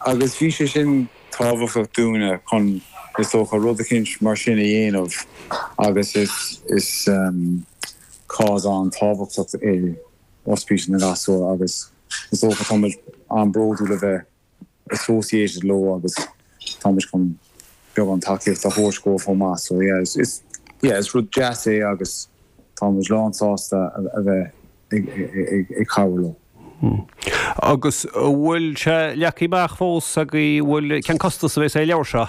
Agus bhí sé sin tábhachtach dúinne chun, is dócha, rud eicínt mar sin a dhéanamh agus is, is cause an-tábhachtach é Ospís na nGasúr agus is dócha tá muid an-bhródúil a bheith associated leo agus tá muid chun beagán tacaíocht a thabhairt dóibh chomh maith. So yeah, is, yeah, is rud deas é agus tá muid lán sásta a bheith ag cabhrú leo. Agus an bhfuil sé leagtha amach fós agaibh, an bhfuil, cén costas a bheas ar an leabhar seo?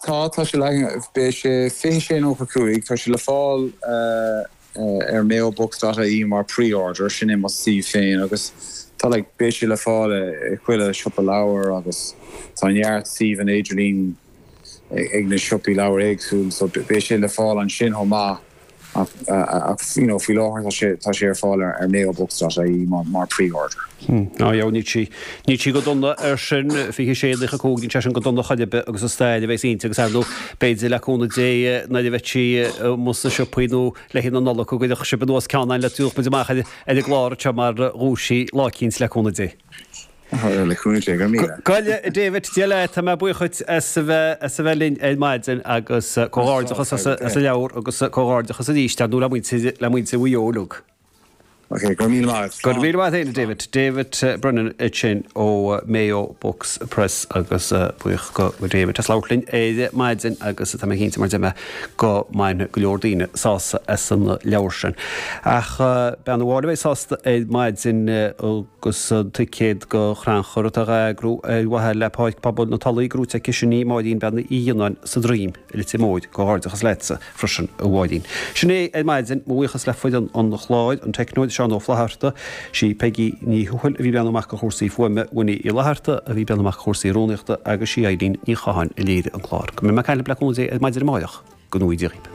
Tá, tá sé leagtha, beidh sé 26.95, tá sé le fáil ar mayobooks.ie mar pre-order, sin é mo suíomh féin agus tá like, beidh sé le fáil i chuile siopa leabhar agus tá neart suíomhanna idirlín ag na siopaí leabhar éagsúil so beidh sé le fáil ansin chomh maith. Ach you know faoi láthair tá sé tá sé ar fáil ar mayobooks.ie mar mar pre-order. Á yeah níl sí níl sí go dona ar sin, 26.95 níl sé sin go dona chor ar bith agus is stail a bheas inti agus ar ndóigh b'fhéidir le cúnamh Dé nuair a bheidh sí amuigh sna siopaí nó le haghaidh na Nollag go gcuirfeadh sibh anuas ceann againn le tabharfadh muid amach ar ar an gclár anseo mar dhuais lá eicínt le cúnamh Dé. Le cúnamh Dé, go raibh míle. Go leith, a David, Dia leat, tá mé buíoch dhuit as a bheith as a bheith linn ar maidin agus comhghairdeachas as as an leabhar agus comhghairdeachas arís ar ndóigh le muintir le muintir Mhaigh Eo uilig. Ok, go raibh míle maith agat. Go raibh míle maith agat féin, a David. David Brennan ansin ó Mayo Books Press agus buíoch go David as labhairt linn ar maidin agus tá mé cinnte mar a deir mé go mbainfidh go leor daoine sásamh as an leabhar sin. Ach bean amháin a bheidh sásta ar maidin agus an ticéad go chrannchur atá á eagrú ar mhaithe le Páirc Pobail na Tulaí gnóite aici sin í Máirín Bean Uí Fhionnáin sa Droim i Leitir Móir. Comhghairdeachas leatsa freisin a Mháirín. Sin é ar maidin, mo bhuíochas le foireann an chláir, an teicneoir Seán Ó Flatharta, sí Peigí Ní Thuathail a bhí ag breathnú amach do chúrsaí fuaime, Winnie Uí Fhlatharta a bhí ag breathnú amach do chúrsaí rúnaíochta agus sí Eileen Ní Chatháin a léirigh an clár. Go mbeidh mé ag caint libh le cúnamh Dé ar maidin amárach, go ngnóthaí Dia dhaoibh.